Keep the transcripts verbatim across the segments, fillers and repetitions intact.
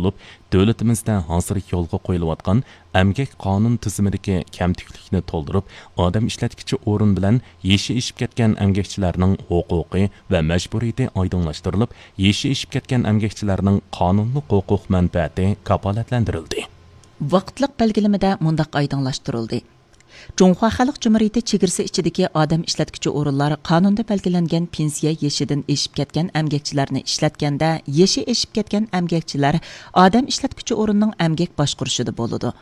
بولۇپ، دۆلىتىمىزدە ھازىر يولغا قويۇلۇۋاتقان ئەمگەك قانۇن تۈزۈمىدىكى كەمتۈكلۈكنى تولدۇرۇپ، ئادەم ئىشلەتكۈچى ئورۇن بىلەن يېشى ئېشىپ كەتكەن ئەمگەكچىلەرنىڭ ھوقۇقى ۋە مەجبۇرىيىتى ئايدىڭلاشتۇرۇلۇپ، يېشى ئېشىپ كەتكەن ئەمگەكچىلەرنىڭ قانۇنلۇق ھوقۇق مەنپەئەتى كاپالەتلەندۈرۈلدى. ۋاقىتلىق بەلگىلىمىدە مۇنداق ئايدىڭلاشتۇرۇلدى. جۇڭخۇا خەلق جۇمھۇرىيىتى چېگرىسى ئىچىدىكى ئادەم ئىشلەتكۈچى ئورۇنلار قانۇندا بەلگىلەنگەن پېنسىيە يېشىدىن ئېشىپ كەتكەن ئەمگەكچىلەرنى ئىشلەتكەندە، يېشى ئېشىپ كەتكەن ئەمگەكچىلەر ئادەم ئىشلەتكۈچى ئورۇننىڭ ئەمگەك باشقۇرۇشىدا بولىدۇ.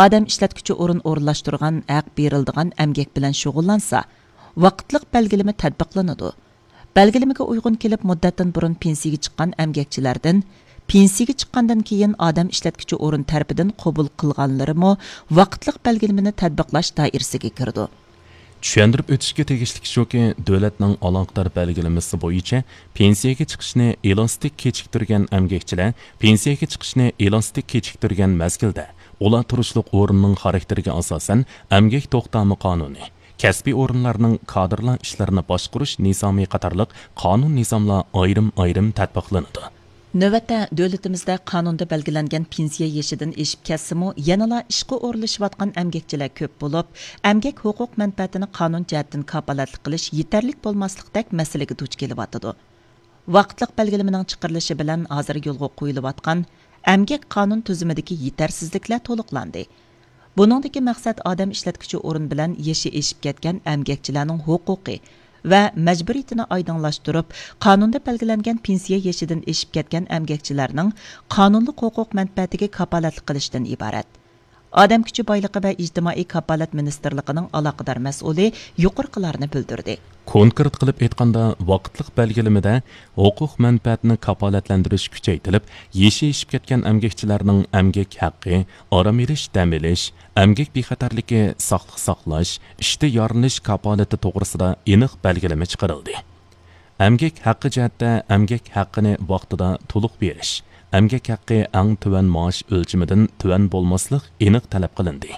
ئادەم ئىشلەتكۈچى ئورۇن ئورۇنلاشتۇرغان ھەق بېرىلىدىغان ئەمگەك بىلەن شۇغۇللانسا، ۋاقىتلىق بەلگىلىمە تەتبىقلىنىدۇ. بەلگىلىمىگە ئۇيغۇن كېلىپ، مۇددەتتىن بۇرۇن پېنسىيىگە چىققان ئەمگەكچىلەردىن پېنسىيىگە چىققاندىن كېيىن ئادەم ئىشلەتكۈچى ئورۇن تەرىپىدىن قوبۇل قىلغانلىرىمۇ ۋاقىتلىق بەلگىلىمىنى تەتبىقلاش دائىرىسىگە كىرىدۇ. چۈشەندۈرۈپ ئۆتۈشكە تېگىشلىك شۇكى، دۆلەتنىڭ ئالاقىدار بەلگىلىمىسى بويىچە پېنسىيەگە چىقىشنى ئېلاستىك كېچىكتۈرگەن ئەمگەكچىلەر پېنسىيەگە چىقىشنى ئېلاستىك كېچىكتۈرگەن مەزگىلدە، ئۇلار تۇرۇشلۇق ئورۇننىڭ خاراكتېرىگە ئاساسەن، ئەمگەك توختامى قانۇنى، كەسپىي ئورۇنلارنىڭ كادىرلار ئىشلىرىنى باشقۇرۇش نىزامى قاتارلىق قانۇن نىزاملار ئايرىم-ئايرىم تەتبىقلىنىدۇ. نۆۋەتتە، دۆلىتىمىزدە قانۇندا بەلگىلەنگەن پېنسىيە يېشىدىن ئېشىپ كەتسىمۇ، يەنىلا ئىشقا ئورۇنلىشىۋاتقان ئەمگەكچىلەر كۆپ بولۇپ، ئەمگەك ھوقۇق مەنپەئەتىنى قانۇن جەھەتتىن كاپالەتلىك قىلىش يېتەرلىك بولماسلىقتەك مەسىلىگە دۇچ كېلىۋاتىدۇ. ۋاقىتلىق بەلگىلىمىنىڭ چىقىرىلىشى بىلەن ھازىر يولغا قويۇلۇۋاتقان ئەمگەك قانۇن تۈزۈمىدىكى يېتەرسىزلىكلەر تولۇقلاندى. بۇنىڭدىكى مەقسەت ئادەم ئىشلەتكۈچى ئورۇن بىلەن يېشى ئېشىپ كەتكەن ئەمگەكچىلەرنىڭ ھوقۇقى ۋە مەجبۇرىيىتىنى ئايدىڭلاشتۇرۇپ، قانۇندا بەلگىلەنگەن پېنسىيە يېشىدىن ئېشىپ كەتكەن ئەمگەكچىلەرنىڭ قانۇنلۇق ھوقۇق مەنپەئەتىگە كاپالەتلىك قىلىشتىن ئىبارەت. ئادەم كۈچى بايلىقى ۋە ئىجتىمائىي كاپالەت مىنىستىرلىقىنىڭ ئالاقىدار مەسئۇلى يۇقىرىقىلارنى بىلدۈردى. كونكرېت قىلىپ ئېيتقاندا، ۋاقىتلىق بەلگىلىمىدە ھوقۇق مەنپەئەتنى كاپالەتلەندۈرۈش كۈچەيتىلىپ، يېشى ئېشىپ كەتكەن ئەمگەكچىلەرنىڭ ئەمگەك ھەققى، ئارام ئېلىش، دەم ئېلىش، ئەمگەك بىخەتەرلىكى، ساقلىق ساقلاش، ئىشتا يارىلىنىش كاپالىتى توغرىسىدا ئېنىق بەلگىلىمە چىقىرىلدى. ئەمگەك ھەققى جەھەتتە ئەمگەك ھەققىنى ۋاقتىدا تولۇق بېرىش، ئەمگەك ھەققى ئەڭ تۆۋەن مائاش ئۆلچىمىدىن تۆۋەن بولماسلىق ئېنىق تەلەپ قىلىندى.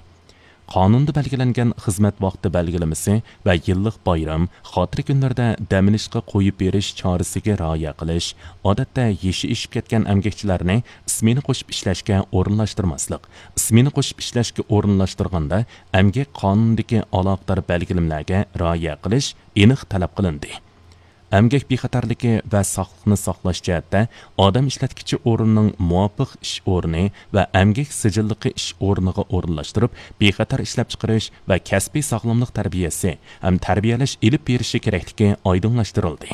قانۇندا بەلگىلەنگەن خىزمەت ۋاقتى بەلگىلىمىسى ۋە يىللىق بايرام، خاتىرە كۈنلەردە دەم ئېلىشقا قويۇپ بېرىش چارىسىگە رىئايە قىلىش، ئادەتتە يېشى ئېشىپ كەتكەن ئەمگەكچىلەرنى ئىسمېنا قوشۇپ ئىشلەشكە ئورۇنلاشتۇرماسلىق، ئىسمېنا قوشۇپ ئىشلەشكە ئورۇنلاشتۇرغاندا ئەمگەك قانۇنىدىكى ئالاقىدار بەلگىلىمىلەرگە رىئايە قىلىش ئېنىق تەلەپ قىلىندى. ئەمگەك بىخەتەرلىكى ۋە ساقلىقنى ساقلاش جەھەتتە ئادەم ئىشلەتكۈچى ئورۇننىڭ مۇۋاپىق ئىش ئورنى ۋە ئەمگەك سىجىللىقى ئىش ئورنىغا ئورۇنلاشتۇرۇپ، بىخەتەر ئىشلەپچىقىرىش ۋە كەسپىي ساغلاملىق تەربىيەسى ھەم تەربىيەلەش ئېلىپ بېرىشى كېرەكلىكى ئايدىڭلاشتۇرۇلدى.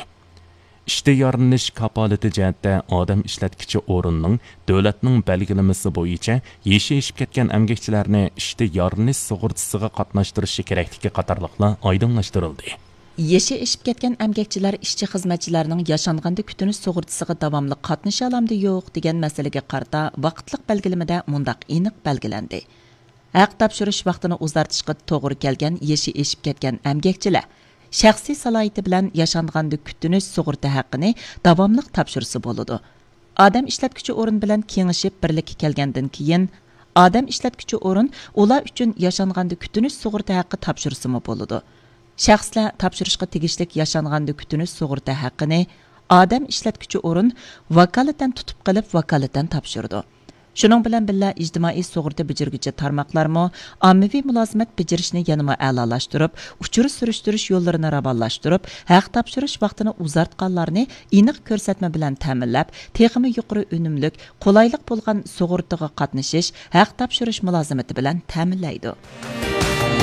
ئىشتا يارىلىنىش كاپالىتى جەھەتتە ئادەم ئىشلەتكۈچى ئورۇننىڭ دۆلەتنىڭ بەلگىلىمىسى بويىچە يېشى ئېشىپ كەتكەن ئەمگەكچىلەرنى ئىشتا يارىلىنىش سۇغۇرتىسىغا قاتناشتۇرۇشى كېرەكلىكى قاتارلىقلار ئايدىڭلاشتۇرۇلدى. يېشى ئېشىپ كەتكەن ئەمگەكچىلەر ئىشچى-خىزمەتچىلەرنىڭ ياشانغاندا كۈتۈنۈش سۇغۇرتىسىغا داۋاملىق قاتنىشالامدۇ يوق دېگەن مەسىلىگە قارىتا ۋاقىتلىق بەلگىلىمىدە مۇنداق ئېنىق بەلگىلەندى. ھەق تاپشۇرۇش ۋاقتىنى ئۇزارتىشقا توغرا كەلگەن يېشى ئېشىپ كەتكەن ئەمگەكچىلەر شەخسىي سالاھىيىتى بىلەن ياشانغاندا كۈتۈنۈش سۇغۇرتا ھەققىنى داۋاملىق تاپشۇرسا بولىدۇ. ئادەم ئىشلەتكۈچى ئورۇن بىلەن كېڭىشىپ بىرلىككە كەلگەندىن كېيىن، ئادەم ئىشلەتكۈچى ئورۇن ئۇلار ئۈچۈن ياشانغاندا كۈتۈنۈش سۇغۇرتا ھەققى تاپشۇرسىمۇ بولىدۇ. شەخسلەر تاپشۇرۇشقا تېگىشلىك ياشانغاندا كۈتۈنۈش سۇغۇرتا ھەققىنى ئادەم ئىشلەتكۈچى ئورۇن ۋاكالىتەن تۇتۇپ قېلىپ، ۋاكالىتەن تاپشۇرىدۇ. شۇنىڭ بىلەن بىللە، ئىجتىمائىي سۇغۇرتا بېجىرگۈچى تارماقلارمۇ ئاممىۋى مۇلازىمەت بېجىرىشنى يەنىمۇ ئەلالاشتۇرۇپ، ئۇچۇر سۈرۈشتۈرۈش يوللىرىنى راۋانلاشتۇرۇپ، ھەق تاپشۇرۇش ۋاقتىنى ئۇزارتقانلارنى ئېنىق كۆرسەتمە بىلەن تەمىنلەپ، تېخىمۇ يۇقىرى ئۈنۈملۈك، قولايلىق بولغان سۇغۇرتىغا قاتنىشىش، ھەق تاپشۇرۇش مۇلازىمىتى بىلەن تەمىنلەيدۇ.